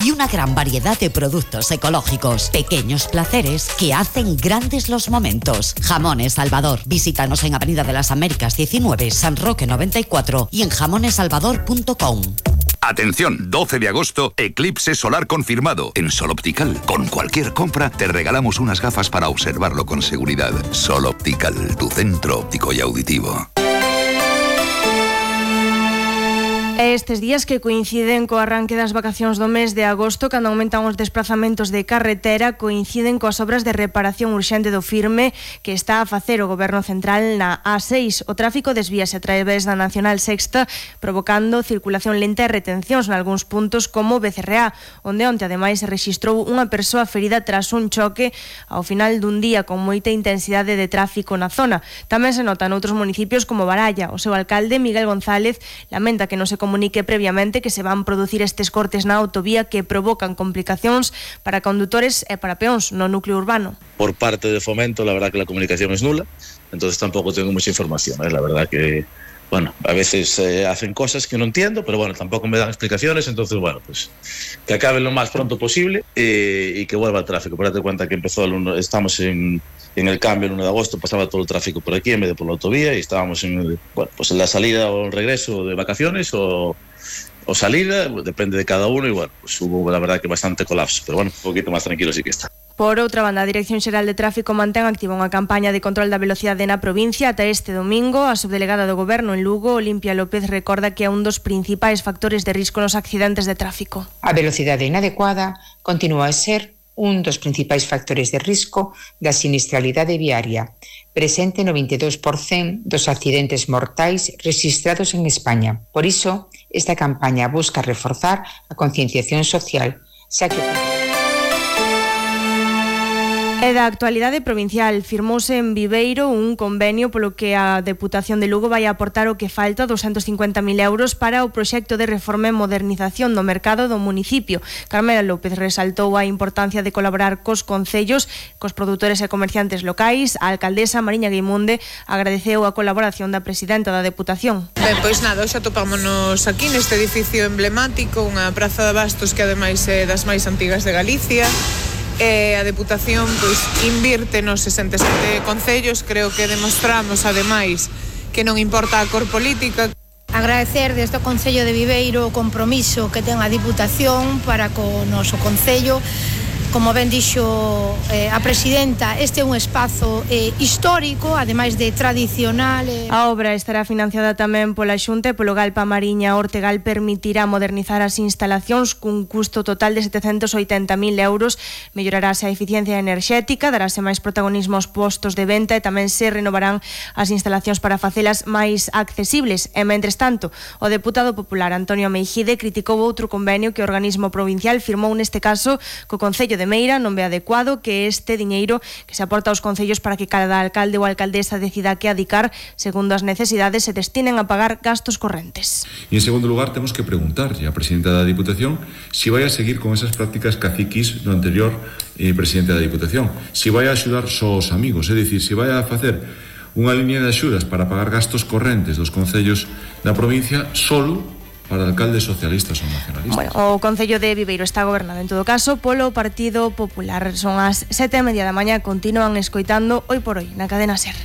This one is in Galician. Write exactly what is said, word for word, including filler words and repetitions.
y una gran variedad de productos ecológicos. Pequeños placeres que hacen grandes los momentos. Jamones Salvador. Visítanos en Avenida de las Américas diecinueve, San Roque noventa y cuatro y en jamones salvador punto com. Atención, doce de agosto, eclipse solar confirmado. En Sol Optical, con cualquier compra, te regalamos unas gafas para observarlo con seguridad. Sol Optical, tu centro óptico y auditivo. Estes días que coinciden co arranque das vacacións do mes de agosto, cando aumentan os desplazamentos de carretera, coinciden coas obras de reparación urxente do firme que está a facer o Goberno Central na A seis. O tráfico desvíase a través da Nacional Sexta, provocando circulación lenta e retencións nalgúns puntos como Becerreá, onde onte ademais se rexistrou unha persoa ferida tras un choque ao final dun día con moita intensidade de tráfico na zona. Tamén se nota noutros municipios como Baralla. O seu alcalde, Miguel González, lamenta que non se comunique previamente que se van producir estes cortes na autovía que provocan complicacións para condutores e para peóns no núcleo urbano. Por parte de Fomento, la verdad que la comunicación es nula, entonces tampoco tengo mucha información, ¿eh? La verdad que, bueno, a veces eh, hacen cosas que no entiendo, pero bueno, tampoco me dan explicaciones, entonces bueno, pues que acaben lo más pronto posible eh, y que vuelva el tráfico. Pero date cuenta que empezó el uno, estamos en, en el cambio el uno de agosto, pasaba todo el tráfico por aquí en vez de por la autovía y estábamos en, el, bueno, pues en la salida o el regreso de vacaciones o o salida, depende de cada uno y bueno, pues hubo la verdad que bastante colapso, pero bueno, un poquito más tranquilo sí que está. Por outra banda, a Dirección Xeral de Tráfico mantén activa unha campaña de control da velocidade na provincia ata este domingo. A subdelegada do Goberno en Lugo, Olimpia López, recorda que é un dos principais factores de risco nos accidentes de tráfico. A velocidade inadecuada continúa a ser un dos principais factores de risco da sinistralidade viaria, presente no veintidós por cento dos accidentes mortais rexistrados en España. Por iso, esta campaña busca reforzar a concienciación social, xa que... E da actualidade provincial, firmouse en Viveiro un convenio polo que a Deputación de Lugo vai aportar o que falta, doscientos cincuenta mil euros, para o proxecto de reforma e modernización do mercado do municipio. Carmela López resaltou a importancia de colaborar cos concellos, cos produtores e comerciantes locais. A alcaldesa Mariña Guimunde agradeceu a colaboración da presidenta da Deputación. Ben, pois nada, hoxe atopámonos aquí neste edificio emblemático, unha praza de abastos que ademais é das máis antigas de Galicia. E a Deputación pois invirte nos sesenta e sete concellos. Creo que demostramos ademais que non importa a cor política. Agradecer desde o Concello de Viveiro o compromiso que ten a Diputación para co noso concello. Como ben dixo eh, a presidenta, este é un espazo eh, histórico, ademais de tradicional. Eh. A obra estará financiada tamén pola Xunta e polo Galpa Mariña. Ortegal permitirá modernizar as instalacións cun custo total de setecentos oitenta mil euros. Mellorarase a eficiencia enerxética, darase máis protagonismo aos postos de venta e tamén se renovarán as instalacións para facelas máis accesibles. E, mentres tanto, o deputado popular Antonio Meijide criticou outro convenio que o organismo provincial firmou neste caso co Concello de Meira. Non ve adecuado que este diñeiro que se aporta aos concellos para que cada alcalde ou alcaldesa decida que adicar segundo as necesidades se destinen a pagar gastos correntes. E en segundo lugar temos que preguntarlle á presidenta da Diputación se vai a seguir con esas prácticas caciquis do anterior eh, presidente da Diputación, se vai a axudar só os amigos, é dicir, se vai a facer unha línea de axudas para pagar gastos correntes dos concellos da provincia solo para alcaldes socialistas ou nacionalistas. Bueno, o Concello de Viveiro está gobernado en todo caso polo Partido Popular. Son as sete e media da mañá, continúan escoitando Hoy por Hoy na cadena SER.